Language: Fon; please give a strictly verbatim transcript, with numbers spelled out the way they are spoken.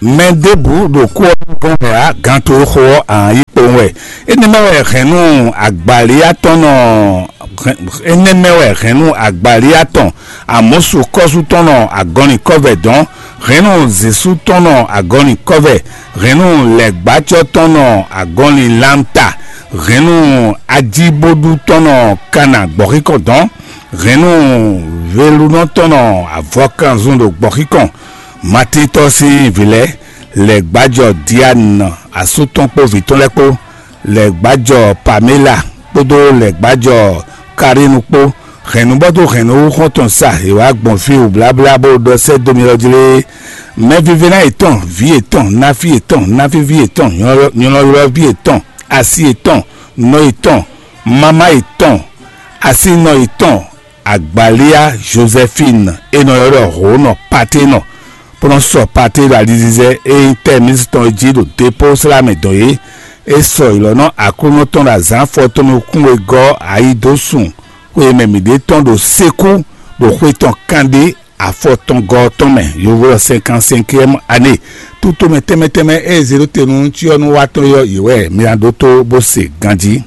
Mɛ ɖěbǔ ɖo kú ɔ́ nukɔn wɛ ǎ, gan to e xo ɔ́, ǎ yi kpowun wɛ. Énɛ́ mɛ wɛ hɛ̌nnu agbalíyá tɔn nɔ énɛ́ mɛ wɛ hɛ̌nnu agbalíyá tɔn Amɔ̌su kɔ́sú tɔn nɔ agɔnlin kɔ́vɛ dɔn, hɛ̌nnu Zěsu tɔn nɔ agɔnlin kɔ́vɛ, hɛ̌nnu lɛ̌gbájɔ tɔn nɔ agɔnlin lamta, hɛ̌nnu ajíbóɖú tɔn nɔ kana gbɔ̌xíkɔn dɔn, hɛ̌nnu velunɔ tɔn nɔ avɔkanzun ɖo gbɔ̌xíkɔn. Matín tɔn sín vǐ lɛ́ɛ, lɛ̌gbájɔ Diane asú tɔn kpó vǐ tɔn lɛ́ɛ kpó, lɛ̌gbájɔ Pamela kpódó lɛ̌gbájɔ Karínu kpó, hɛ̌nnubɔ́ dó hɛ̌nnu xɔ́ntɔn sa è wǎ gbɔn fí wǔbláblá bó ɖɔ sɛ́ dó mi ɔ́ jlé. Mɛvívɛ́ná yětɔn, vǐ yětɔn, náfí yětɔn, náfíví yětɔn, nyɔlɔylɔ́ví yětɔn, asi yětɔn, nɔ yětɔn, mamá yětɔn, asínɔ yětɔn, Agbalíá Joséphine e nɔ ylɔ́ ɖɔ Hǒnɔ Paténɔ, bó nɔ́ sɔ Paté ɖo alizizɛ e nyí tɛ́ mísítɔn e jí ɖo dépó slá mɛ dɔn é. É sɔ ylɔ̌nɔ Aklúnɔ tɔn ɖo azǎn afɔ tɔn nukún e gɔ́ ayi dó sun xwe e mɛ mǐ ɖe tɔn ɖo sékú ɖo xwe tɔn kanɖé afɔ tɔn gɔ́ ɔ́ tɔn mɛ, yovo ɔ́ cinquante-cinquième année. Tutomɛ tɛnmɛ tɛnmɛ e zě ɖó te nú cyɔ́núwatɔ́ é ɔ́, yě wɛ mi ná ɖótó bó se ganjí.